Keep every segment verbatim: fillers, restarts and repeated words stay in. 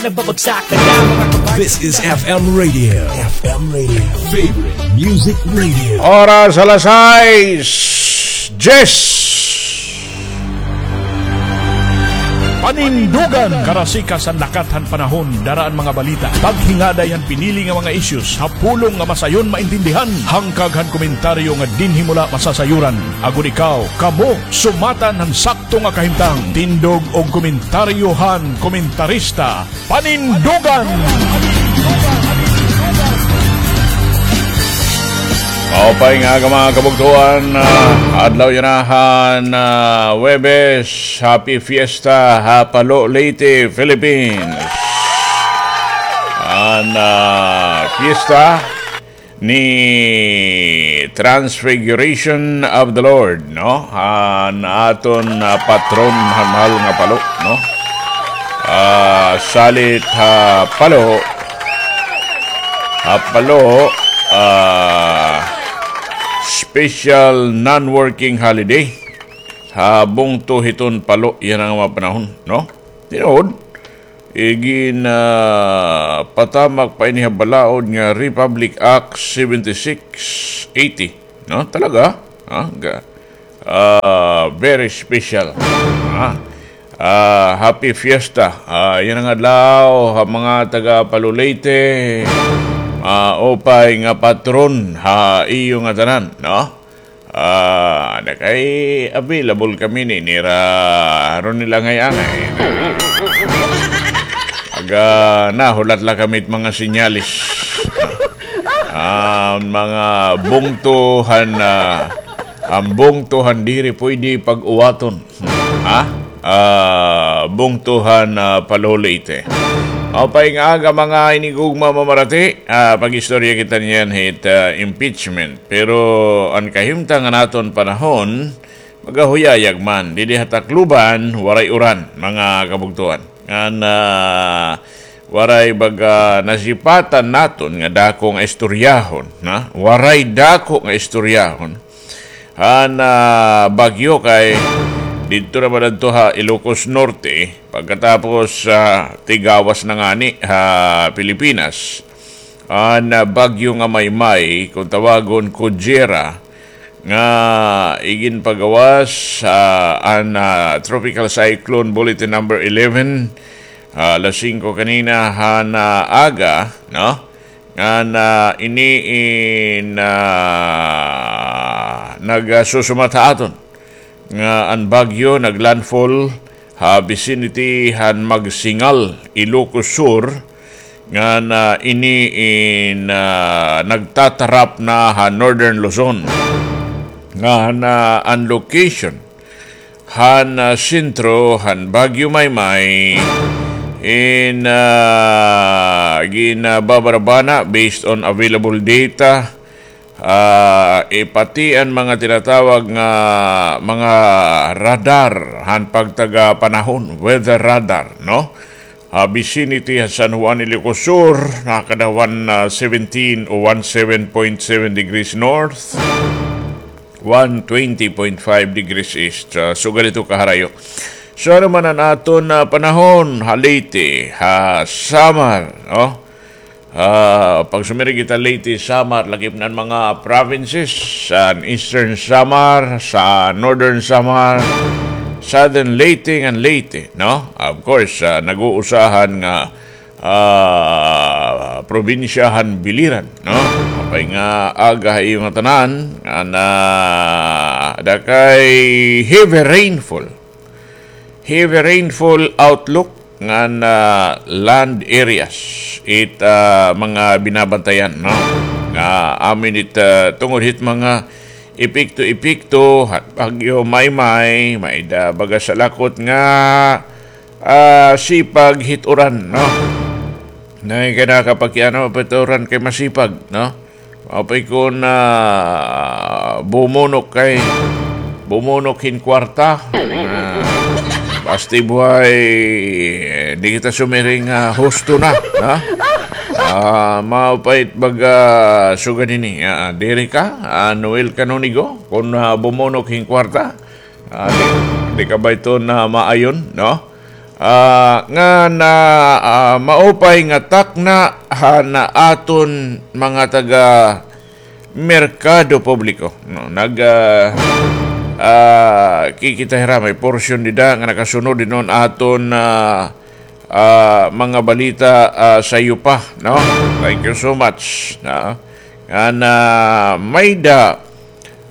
Nagbabagsak na mga kabayan. This is F M Radio. F M Radio. Favorite Music Radio. Oras alas sais, diyes. Panindugan! Karasikas han lakat han panahon, dara an mga balita. Paghingaday han pinili nga mga issues, ha pulong nga masayon maintindihan. Hangkag han komentaryo nga dinhi mo la masasayuran. Agod ikaw, kamo, sumatan han sakto nga kahimtang. Tindog og komentaryo han komentarista. Panindugan! Maupay nga aga, mga kabugtoan, ah, adlaw yana han, ah, Huwebes. Happy Fiesta ha Palo, Leyte, Philippines. An, ah, fiesta ni Transfiguration of the Lord, no? An aton, ah, patron han mahal nga Palo, no? Ah, salit ha Palo, ha Palo, ah, special non-working holiday ha bungto hiton Palo yana nga mga panahon, no? Tinuod, igin, ah, patamak pa ini ha balaod nga Republic Act seventy-six eighty, no? Talaga, ah, ga-, ah, very special. Ah, ah, happy fiesta. Ah, yana nga adlaw ha mga taga Palo, Leyte. Maupay nga patron ha iyo ngatanan, no? Ah, ada kay available kami ni nira Ronel Angay-angay. Aga, nahulat la kami it mga senyales. Ah, mga bungto han, ah, an bungto han diri pwede pag-uwaton. Ha? Ah, bungto han, ah, Palo, Leyte. Maupay nga aga, mga hinigugma, mamarati. Ah, pag-istorya kita niyan hit, ah, impeachment. Pero an kahimtang han aton panahon, magahuyayag man. Didi ha Tacloban, waray uran, mga kabugtoan. Ngan, ah, waray baga nasipatan naton nga dako nga istoryahon, ha? Waray dako nga istoryahon. Han, ah, bagyo kay didto naman adto ha Ilocos Norte, pagkatapos, ah, tigawas na ngani ha Pilipinas. An, ah, bagyo nga Maymay, kon tawagon Kujera, nga iginpagawas, ah, an, ah, Tropical Cyclone Bulletin Number eleven, ah, alas singko kanina han, ah, aga, no? Ngan, ah, ini in, ah, nagasusumat ha aton nga an bagyo naglandfall ha vicinity han Magsingal, Ilocos Sur, ngan, ah, ini in, ah, nagtatarap na ha Northern Luzon. Ngan, ah, an location han, ah, sentro han Bagyo Maymay in, ah, ginbabarabana based on available data, ah, eh, pati an mga tinatawag nga mga radar han pagtaga panahon, weather radar, no? Ha vicinity ha San Juan, Ilocos Sur, nakada one, ah, seventeen o one seven point seven degrees north, one twenty point five degrees east. Ah, sugad ito kaharayo. So, ano man an aton, ah, panahon ha Leyte, ha Samar, no? Ah, pag sumiring kita Leyte, Samar, lakip na an mga provinces, sa Eastern Samar, sa Northern Samar, Southern Leyte ngan Leyte, no? Of course, ah, nag-uusahan nga, ah, probinsya han Biliran, no? Maupay nga aga ha iyo ngatanan, ngan, ah, ada kay heavy rainfall. Heavy rainfall outlook ngan, ah, land areas it, ah, mga binabantayan, no? Nga amin it, ah, tungod hit mga epekto-epekto han Bagyo Maymay, may-ada baga salakot nga, ah, sipag hit uran, no? Nay, kay nakakapakiano pa it uran kay masipag, no? Maupay kon, ah, bumunok kay, bumunok hin kwarta. Ah, basti buhay, eh, di kita sumiring, ah, husto na, ha? Ah, maupay it baga sugad ini, ah, diri ka, ah, Noel Canonigo, kon, ah, bumunok hin kwarta, ah, di, di ka ba ito na maayon, no? ah, nga na, ah, maupay nga takna han aton mga taga merkado publiko, no? Nag, ah, ah, kikita hira, may porsyon dida nga nakasunod hiton aton, ah, ah, mga balita, ah, sayo pa, no? Thank you so much, no? Nga na may da,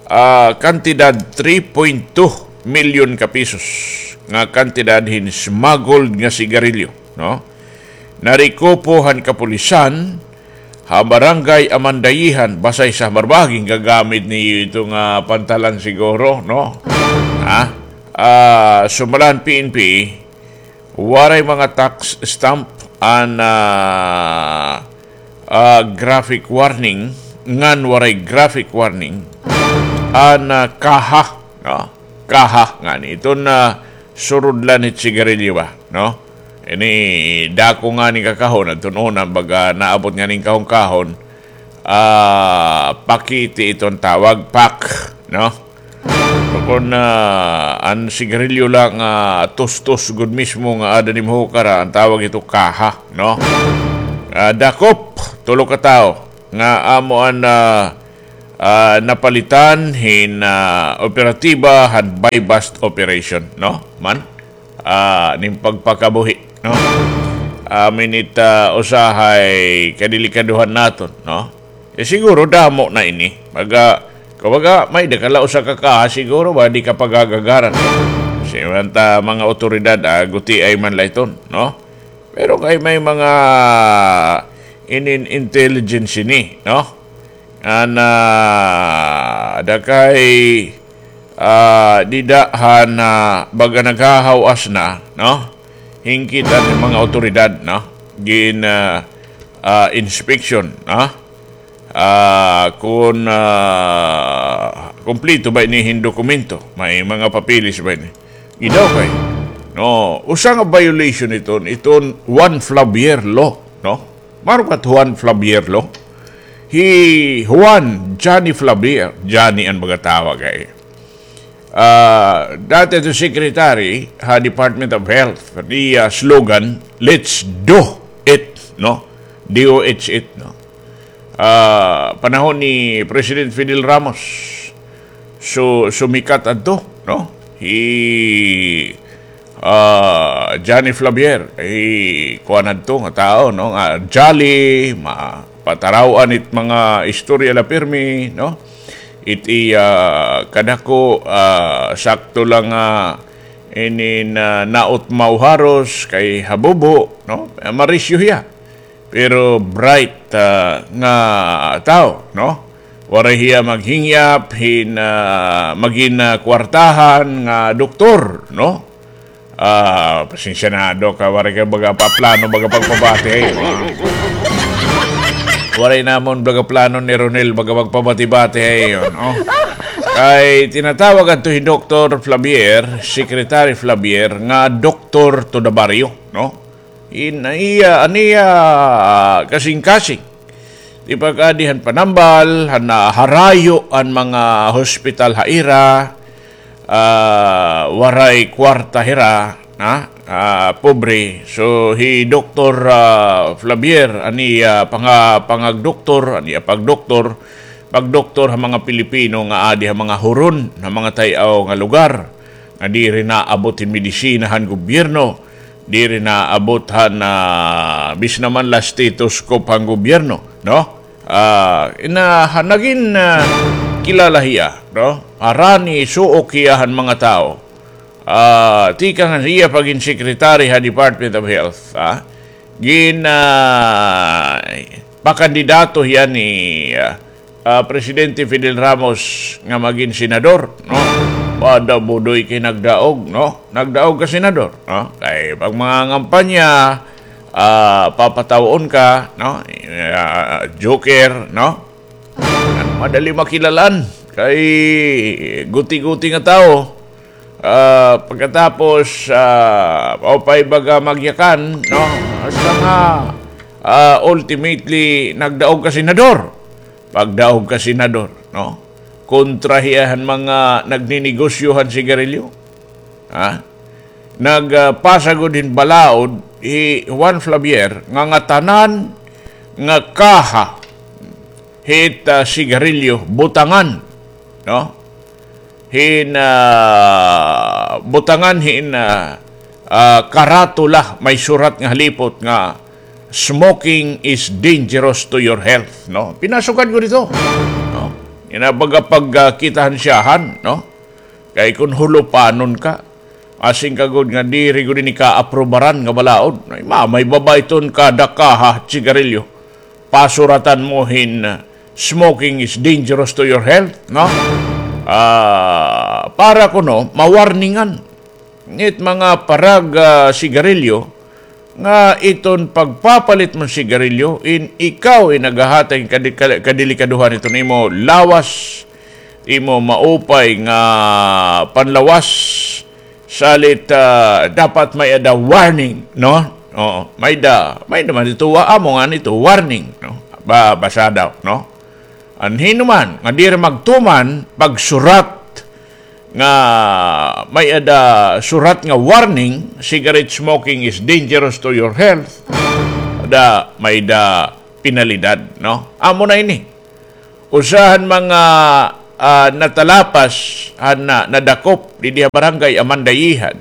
ah, kantidad three point two milyon ka pisos nga kantidad hin smuggled nga sigarilyo, no? Narekupo han kapulisan ha Barangay Amandayihan, Basay sa Marbaging. Gagamit niyo ito nga pantalan siguro, no? Ha? Ah, sumala han P N P, waray mga tax stamp an, ah, ah, graphic warning, ngan waray graphic warning an, ah, kaha, no? Kaha ngani. Iton, ah, surudlan hit sigarilyo ba, no? Ini dako ngani nga kahon, adton una, baga naabot ngani hin kahon-kahon, ah, pakiti iton tawag, pack, no? Kon, ah, an sigarilyo la nga tustos gud mismo nga aada nim hukara, an tawag ito kaha, no? Ah, dakop, tulo ka tawo nga amo an, ah, ah, napalitan hin, ah, operatiba han buy-bust operation, no? Man, ah, nin pagpakabuhi, no? Amin it, ah, usahay kadelikadohan naton, no? Eh, siguro damo na ini. Baga, kumbaga, may-ada ka la usa ka kaha, siguro ba, di ka pagagagaran. Kasi man ta mga awtoridad, ah, gutiay man la iton, no? Pero kay may mga inin intelligence ini, no? An, ah, da kay, ah, dida han, ah, baga naghahaw-as na, no? Hingkit an mga awtoridad, no? Gin, ah, ah, inspection, no? Ah, kon, ah, kumpleto ba ini hin dokumento? May mga papeles ba ini? Gidaw kay, no, usa nga violation iton, iton Juan Flavier law, no? Maaram ka Juan Flavier law? Hi Juan Johnny Flavier, Johnny an mga tawag ay. Ah, dati ito secretary ha Department of Health. Iya slogan, "Let's do it," no? D O H it, no? Ah, panahon ni President Fidel Ramos, so, sumikat adto, no? Hi, ah, Johnny Flavier, hi kuan adto nga tawo, no? Nga jolly, mapataraw-an it mga istorya la pirmi, no? It iya kadako, ah, sakto lang nga inin, ah, naot mauharos kay habubo, no? Marisyo hiya. Pero bright, ah, nga tawo, no? Waray hiya maghingyap hin, ah, magin, ah, kwartahan nga doktor, no? Ah, pasensya na, Dok, ah, waray ka baga pa plano, baga pagpabati, hay. Waray namon baga plano ni Ronel, baga pagpabati-bati, hay, no? Kay tinatawag adto hi Doktor Flavier, Secretary Flavier, nga doktor to the barrio, no? In, iya, an iya, ah, kasingkasing. Di pag-adi han panambal, han naharayo an mga hospital ha ira, ah, waray kwarta hira, ha? Ah, pobre. So, hi Doktor, ah, Flavier, an iya panga-, pangagdoktor, an iya pagdoktor, pagdoktor ha mga Pilipino nga adi ha mga huron, ha mga tay-aw nga lugar, nga diri naabot hin medisina han gobyerno. Diri naabot han, ah, bisan man la stethoscope han gobyerno, no? Ah, ina, ha, nagin, ah, kilala hiya, no? Harani, suok hiya han mga tawo. Ah, tikang han iya pagin secretary ha Department of Health, ah. Gin, ah, pakandidato hiya ni, ah, ah, Presidente Fidel Ramos nga magin senador, no? Wada budoy kay nagdaog, no? Nagdaog ka senador, no? Kay pag mga ngampanya, ah, papataw-on ka, no? Ah, joker, no? Madali makilalan kay guti-guti nga tawo. Ah, pagkatapos, ah, maupay baga magyakan, no? Hasta nga, ah, ultimately, nagdaog ka senador. Pagdaog ka senador, no? Kontra hiya han mga nagninegosyo han sigarilyo. Ha? nagpasa gud hin balaod hi Juan Flavier nga ngatanan nga kaha hit, ah, sigarilyo butangan, no? Hin, ah, butangan hin, ah, ah, karatula may surat nga halipot nga "Smoking is dangerous to your health," no? Pinasukad ko dito, no? Ina baga pag, ah, kita han siyahan, no? Kay kun hulupanon ka, asing ka gud nga diri gud ini kaaprubaran nga balaod. Ay, ma-, may baba iton kada kaha sigarilyo. Pasuratan mo hin, uh, "Smoking is dangerous to your health," no? Ah, para kuno, mawarningan it mga parag, ah, sigarilyo, nga iton pagpapalit mo hin sigarilyo, in ikaw in naghahatag hin kadi-, ka-, kadelikaduhan iton imo lawas, imo maupay nga panlawas, salit, ah, dapat may-ada warning, no? Oo, may-ada, may-ada man ito, wa-, amo ngani ito, warning, no? Ba, basa daw, no? An hin-o man nga diri magtuman, pagsurat nga may-ada surat nga warning, "Cigarette smoking is dangerous to your health," da may-ada penalidad, no? Amo na ini. Usa han mga, ah, natalapas han na-, nadakop didi ha Barangay Amandayihan.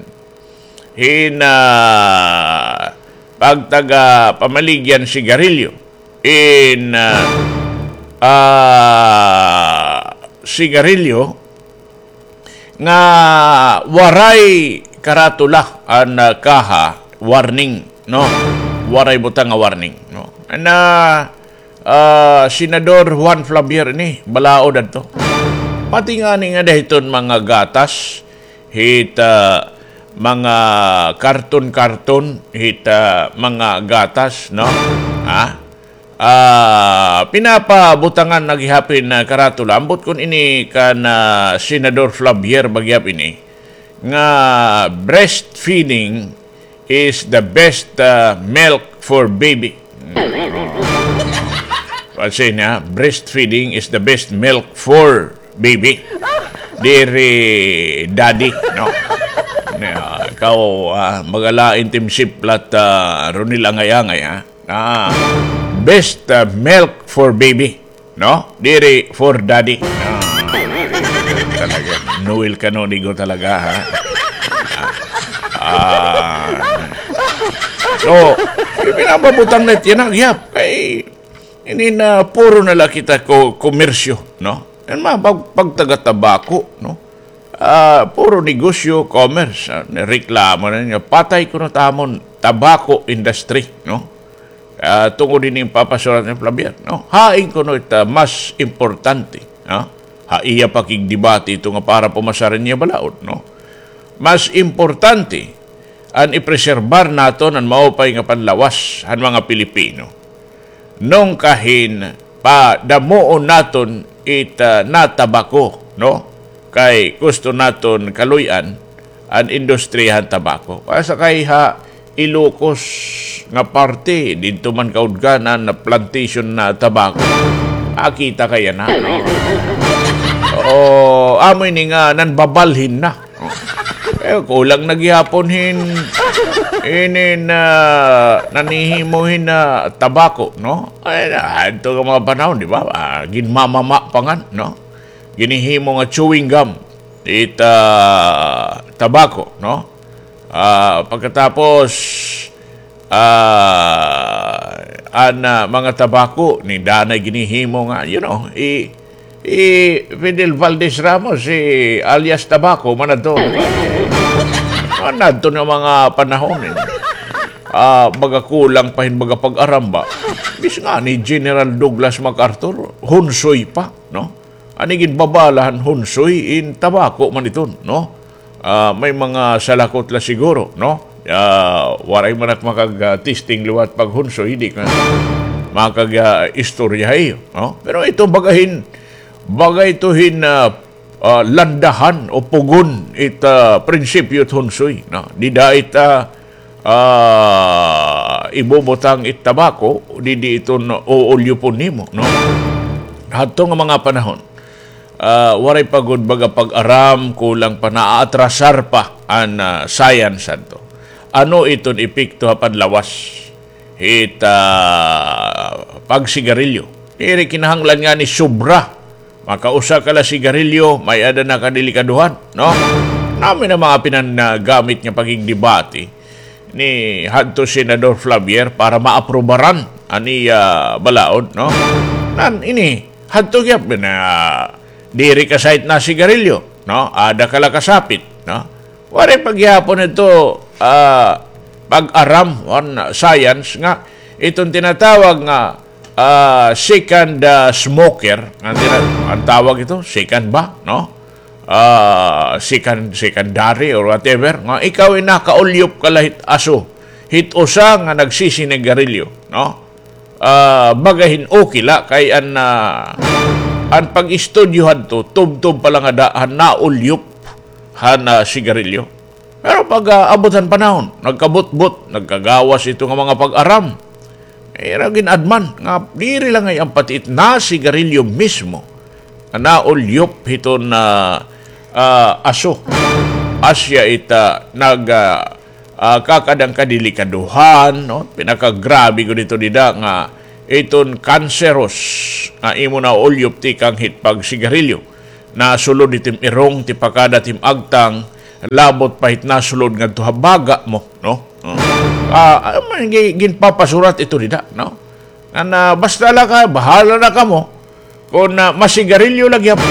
Hin, ah, pagtaga pamaligya hin sigarilyo. In, ah, ah, sigarilyo nga waray karatula an, ah, kaha, warning, no? Waray butang nga warning, no? Na, ah, Senador Juan Flavier ini, balaod adto. Pati ngani ngada hiton mga gatas, hit, ah, mga karton-karton, hit, ah, mga gatas, no? Ha? Ah, pinapabutangan na gihap hin, ah, karatula. Ambot kon ini kan, ah, Senador Flavier ba gihap ini, nga breastfeeding is the best, ah, milk for baby. Kasi na, breastfeeding is the best milk for baby. Diri daddy, no? Na, ikaw, ah, magalain tim siplat, ah, Ronil Angay-angay, ha? Ah, best, ah, milk for baby, no? Diri for daddy. Ah, talaga. Noel Canonigo talaga, ha? Ah. So, pinapabutang na it yana, gihap. Kay, ini na puro na la kita ko-, komersyo, no? Yan mga pag-, pagtaga-tabako, no? Ah, puro negosyo, commerce, ah, reklamo na nga patay kuno it amon tabako industry, no? Ah, tungod ini papasurat ni Flavier, no? Hain kuno it, ah, mas importante, no? Ha iya pakigdebate ito nga para pumasar an iya balaod, no? Mas importante an ipreserbar naton an maupay nga panlawas han mga Pilipino. Nung kahin padamuon naton it, ah, natabako, no? Kay gusto naton kaluy-an an industriya han tabako. Asa kay ha Ilocos nga parte, didto man kaudganan na plantation na tabako. Akita kaya na. O, amo ini nga nanbabalhin na. Eh, kulang na gihapon hin, inin, ah, nanhihimo hin, ah, tabako, no? Ay, adto nga mga panahon, di ba? Ah, ginmamama pa ngan, no? Ginhihimo nga chewing gum, it, ah, tabako, no? Ah, pagkatapos, ah, an, ah, mga tabako, ni danay ginhihimo nga, you know, i-, i Fidel Valdez Ramos, si alias Tabako, man adto. Man adto nga mga panahon, eh. Ah, baga kulang pa hin baga pag-aramba. Bis nga ni General Douglas MacArthur, hunsoy pa, no? An ginbabala han hunsoy in tabako man iton, no? Ah, may mga salakot la siguro, no? Ah, waray man ak makag, ah, testing liwat paghunsoy, di ka makag, ah, istorya ha iyo, no? Pero ito baga hin, baga ito hin, ah, ah, landahan o pugon it, ah, prinsipyo it hunsoy, no? Dida it, ah, ah, ibubutang it tabako, didi iton uulyupon nimo, no? Hadto nga mga panahon, Ah, waray pa gud baga pag-aram, kulang pa, naaatrasar pa an, ah, science adto. Ano iton epekto ha panlawas hit, ah, pagsigarilyo? Diri kinahanglan ngani sobra. Makausa ka la sigarilyo, may-ada na kadelikadohan, no? Nami na mga pinanagamit nga pakigdebate ni hadto Senador Flavier para maaprubaran an iya balaod, no? Nan ini, hadto gihap na diri ka sa hit nasigarilyo, no? Ada ka la kasapit, no? Waray pa gihapon ito, ah, pag-aram, on science nga iton tinatawag nga, ah, second, ah, smoker, nga tina-, an tawag ito, second ba, no? Ah, second, secondary or whatever, nga ikaw ay nakaulyop ka la hit aso, hit usa nga nagsisinigarilyo, no? Ah, baga hin okay la kay an, ah, an pag-istudyo hadto, tubtob pa la nga da-, han naulyop han, ah, sigarilyo. Pero pag, ah, abot han panahon, nagkabutbot, nagkagawas ito nga mga pag-aram. Ira gin-adman nga diri la ngay-an pati it nasigarilyo mismo nga naulyop hiton, ah, ah, aso. Asya it, ah, nag, ah, ah, kakad-an kadelikadohan, no? Pinakagrabe gud ito dida nga iton cancerous nga imo naulyop tikang hit pagsigarilyo. Nasulod it im irong, tipakada it im agtang, labot pa hit nasulod ngadto ha baga mo, no? Oh. Ah, ah, man, gi-, ginpapasurat ito dida, no? Nga na, basta la ka, bahala na kamo. Kon, ah, masigarilyo la gihap,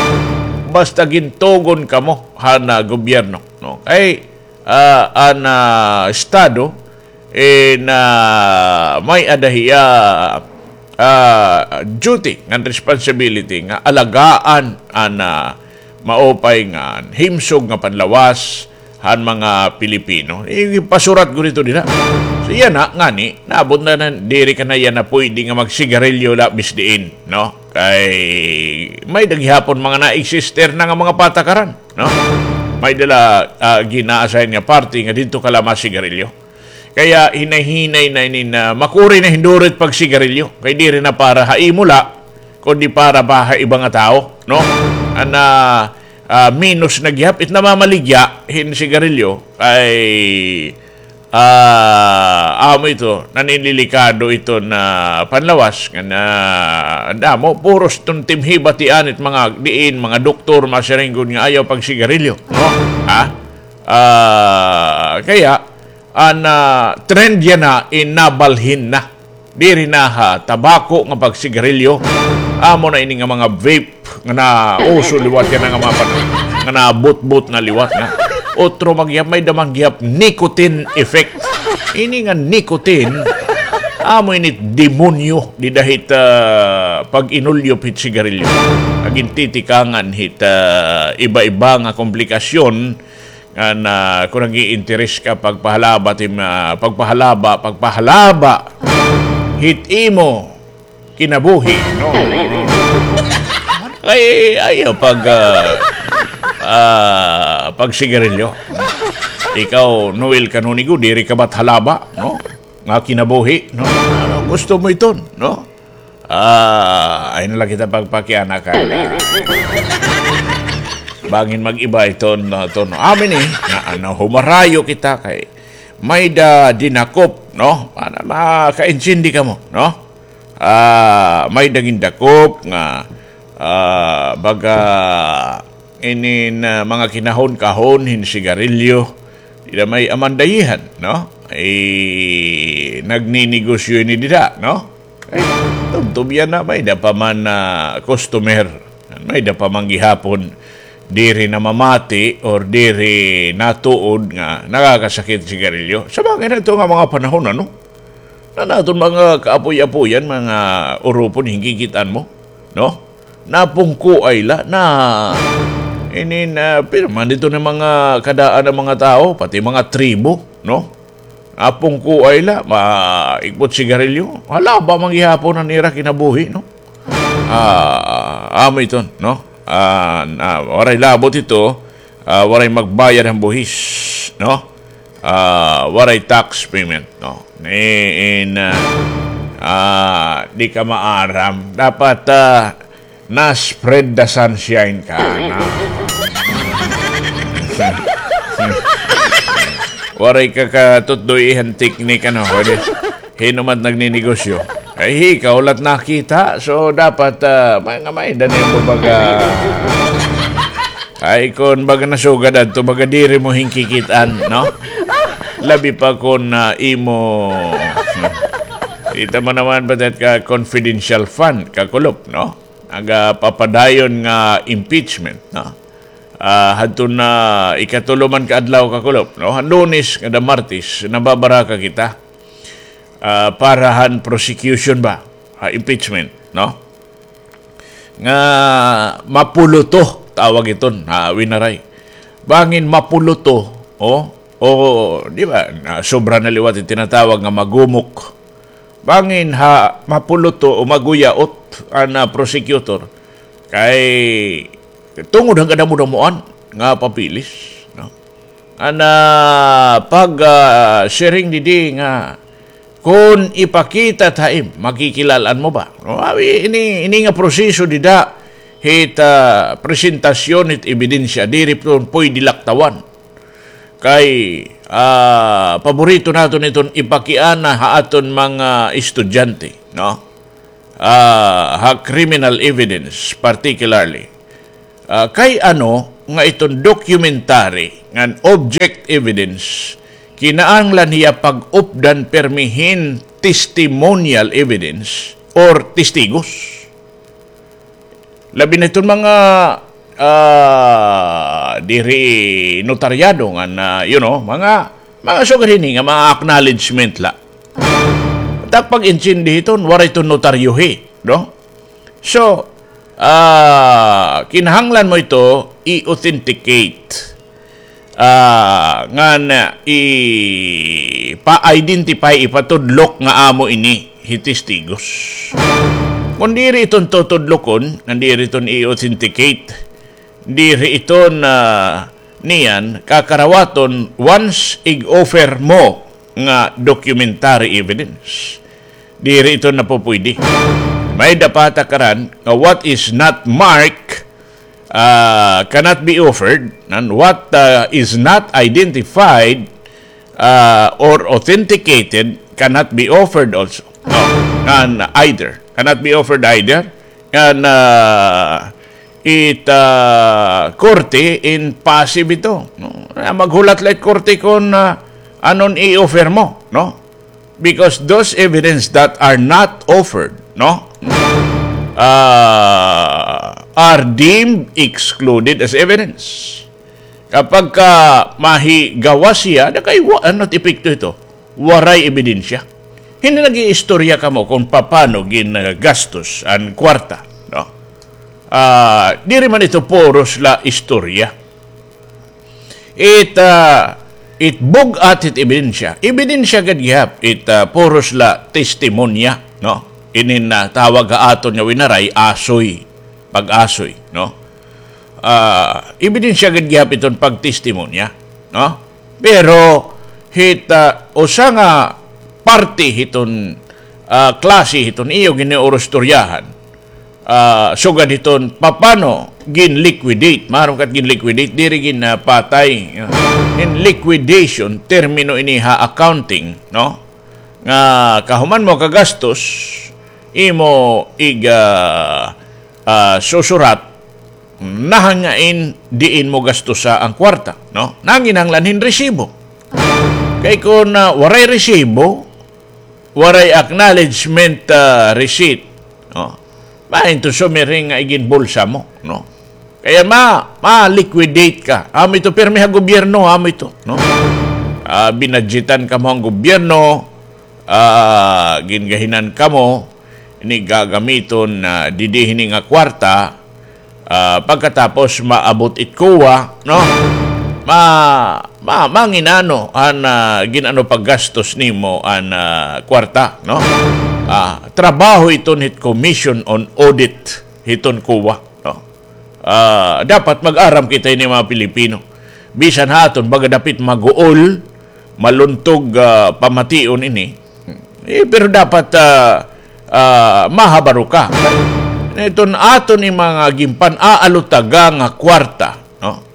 basta gintugon kamo han, ah, gobyerno, no? Kay, ah, an, ah, estado, eh, na may-ada hiya, ah, duty ngan responsibility nga alagaan an, ah, maupay nga himsog nga panlawas han mga Pilipino. Ipasurat gud ito dida. So, yana, ngani, naabot na, na, diri ka na yana pwede nga magsigarilyo labis diin, no? Kay may-ada gihapon mga na-exister na nga mga patakaran, no? May-ada la, ah, gin-a-assign nga party nga didto ka la masigarilyo. Kaya hinay-hinay na ini nga makuri na hin duro it pagsigarilyo. Kay diri na para ha imo la, kundi para pa ha iba nga tawo, no? An, ah, ah, minus na gihap it namamaligya hin sigarilyo kay, ah, amo ito, naninilikado ito nga panlawas nga na, damo, puros tuntim hibati anit mga diin, mga doktor, masiring gud nga ayaw pagsigarilyo, no? Ha? Ah, kaya, an, ah, trend yana, inabalhin na. Diri na ha tabako nga pagsigarilyo. Amo na ini nga mga vape nga nauso liwat yana nga mga pan-, nga nabutbot na liwat nga. Otro man gihap, may-ada man gihap nicotine effect. Ini nga nicotine, amo ini demonyo dida hit, ah, pag-inulyop hit sigarilyo. Nagintitikangan hit, ah, iba-iba nga komplikasyon nga na, kon nag-iinteres ka pagpahalaba tim, ah, pagpahalaba, pagpahalaba hit imo kinabuhi, no? Ay, ayaw pag, ah, ah, pagsigarilyo. Ikaw, Noel Canonigo, diri ka ba halaba, no? Nga kinabuhi, no? Ano gusto mo iton, no? Ah, ay na la kita pagpakiana ka. Bangin mag-iba iton, no, ton. Amin, eh, nga, ano, humarayo kita kay may-ada dinakop, no? Para makaintindi kamo, no? Ah, may-ada gindakop nga, ah, baga inin, ah, mga kinahon-kahon hin sigarilyo, dida may amandayihan, no? Ay, nagninegosyo ini dida, no? Ay, tubtob yana, may-ada pa man, ah, customer, may-ada pa man gihapon diri namamati or diri natuod nga nakakasakit sigarilyo. Sa bagay na ito nga mga panahon, ano? Na naton mga kaapoy-apoyan, mga urupon, hinggigitan mo, no? Napungkoay la, na, inin, ah, pirma dito na mga kadaan nga mga tawo, pati mga tribo, no? Napungkoay la, maikpot sigarilyo. Halaba man gihapon an ira kinabuhi, no? Ah, amo iton, no? Ah, na, waray labot ito, ah, waray magbayad han buhis, no? Ah, waray tax payment, no? Ni, in, ah, ah, di ka maaram. Dapat, ah, Na-spread the sunshine ka na. Waray ka katutdoy han teknik, ano, pwede. Hin-o man it nagninegosyo. Ay, ikaw la it nakita. So, dapat, ah, may nga may danin mo baga. Ay, kon baga nasugad adto, baga diri mo hinkikit-an, no? Labi pa kon, ah, imo, kita mo naman ba that ka confidential fund, kakulop, no? Nagapapadayon nga impeachment, no? Ah, hadto na ikatulo man ka adlaw, kakulop, no? Han Lunes ngada Martes, nababaraka kita, ah, para han prosecution ba, ha impeachment, no? Nga mapuluto, tawag iton, ha Winaray. Bangin mapuluto, o, o, di ba, na sobra na liwat it tinatawag nga magumok. Bangin ha mapuluto o maguyaot an, ah, prosecutor. Kay tungod han kadamo-damoan nga papeles, no? An, ah, pag, ah, siring didi nga kon ipakita it ha im, makikilal-an mo ba? No, abi, ini, ini nga proseso dida hit, ah, presentasyon hit ebidensya, diri iton pwede laktawan. Kay, ah, paborito naton iton ipakiana ha aton mga estudyante, no? Ah, ha criminal evidence particularly. Ah, kay ano nga iton documentary ngan object evidence, kinahanglan hiya pag-updan pirmi hin testimonial evidence or testigos. Labi na iton mga, ah, diri notaryado nga na, you know, mga, mga sugad hini nga mga acknowledgement la. Tak pag-intindi hiton, waray iton notaryohi, no? So, ah, kinahanglan mo ito i-authenticate. Ah, ngan, ah, ipa-identify, ipatudlok nga amo ini hi testigos. Kon diri iton tutudlokon, ngan diri iton i-authenticate, diri iton, ah, niyan kakarawaton once ig-offer mo nga documentary evidence. Diri iton napupuydi. May-ada pa takaran nga what is not marked ah, cannot be offered, and what, ah, is not identified, ah, or authenticated cannot be offered also. No, ngan either. Cannot be offered either. Ngan, ah, it, ah, korte in passive ito. No? Kaya maghulat la it korte kon, ah, anon i-offer mo, no? Because those evidence that are not offered, no, ah, are deemed excluded as evidence. Kapag ka mahigawas siya, na kay wa-, ano epekto ito? Waray ebidensya. Hindi nag-iistorya kamo kung paano ginagastos an kwarta, no? Ah, diri man ito puros la istorya. It, ah, it bug-at it ebidensya. Ebidensya gad gihap it, ah, puros la testimonya, no? Inin, ah, tawag ha aton nga winaray, asoy, pag-asoy, no? Ah, ebidensya gad gihap iton pagtestimonya, no? Pero hit, ah, usa nga parte hiton, ah, klase hiton iyo giniurustoryahan, ah, sugad hiton papano gin-liquidate. Maaram ka it gin-liquidate, diri ginpatay. In liquidation, termino ini ha accounting, no? Nga kahuman mo kagastos, imo ig, ah, ah, susurat, nahangain diin mo gastusa an kwarta, no? Nanginahanglan hin resibo. Kay kon, ah, waray resibo, waray acknowledgement, ah, receipt, no? Maain ito sumiring nga iginbulsa mo, no? Kaya ma-, ma-liquidate ka. Amo ito pirmi ha gobyerno, amo ito, no? Ah, binadyetan kamo han gobyerno, ah, gingahinan kamo, ini gagamiton, ah, didi hini nga kwarta, ah, pagkatapos maabot it COA, no? Ma-, ma-, manginano an, ah, gin-ano paggastos nimo an, ah, kwarta, no? Ah, trabaho iton hit Commission on Audit hiton COA, no? Ah, dapat mag-aram kita ini mga Pilipino. Bisan ha aton, baga dapit maguol, maluntog, ah, pamation ini. Eh, pero dapat, ah, ah, mahabaro ka. Iton aton mga ginpan-aalutaga nga kwarta, no?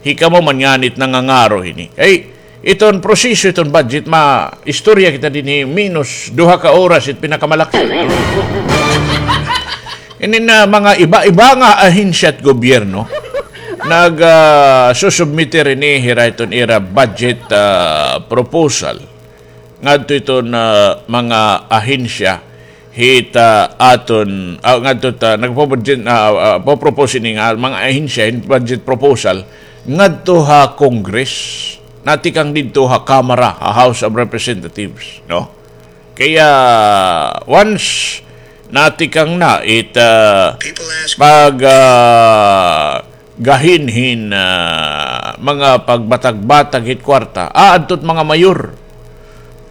Hikamo man ngani it nangangaro hini. Kay iton proseso, iton budget, maistorya kita dinhi, menos duha ka oras it pinakamalaki. Ini na mga iba-iba nga ahensya it gobyerno nag, ah, susubmiter ini, hira iton ira budget, ah, proposal ngadto iton, ah, mga ahensya hit, ah, aton, ah, ngadto ta nagpo-budget, ah, ah, po-propose ini nga mga ahensya hin budget proposal ngadto ha Congress, natikang didto ha Kamara, ha House of Representatives, no? Kaya once natikang na it, ah, pag, ah, gahin hin, ah, mga pagbatag-batag hit kwarta, aadto it mga mayor.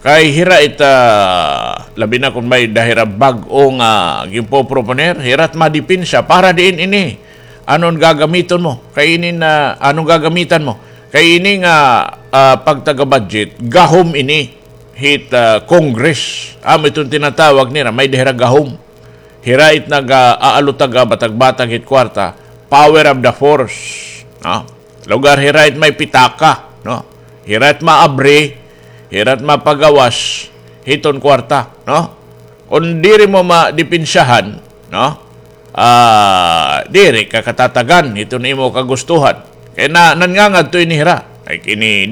Kay hira it, ah, labi na kon may-ada hira bag-o nga ginpoproponer, hira it madepensa para diin ini. Anon gagamiton mo? Kay ini na, anon gagamitan mo? Kay ini nga, ah, pagtaga-budget, gahom ini hit, ah, Congress. Amo iton tinatawag nira, may-ada hira gahom. Hira it nag, ah, aalutaga, batag-batag hit kwarta, power of the purse, no? Lugar hira it may pitaka, no? Hira it maabri, hira it mapagawas hiton kwarta, no? Kon diri mo madepensahan, no? Ah, diri ka katatagan hiton imo kagustuhan. Kay na, nangangad to ini hira. Ay, kini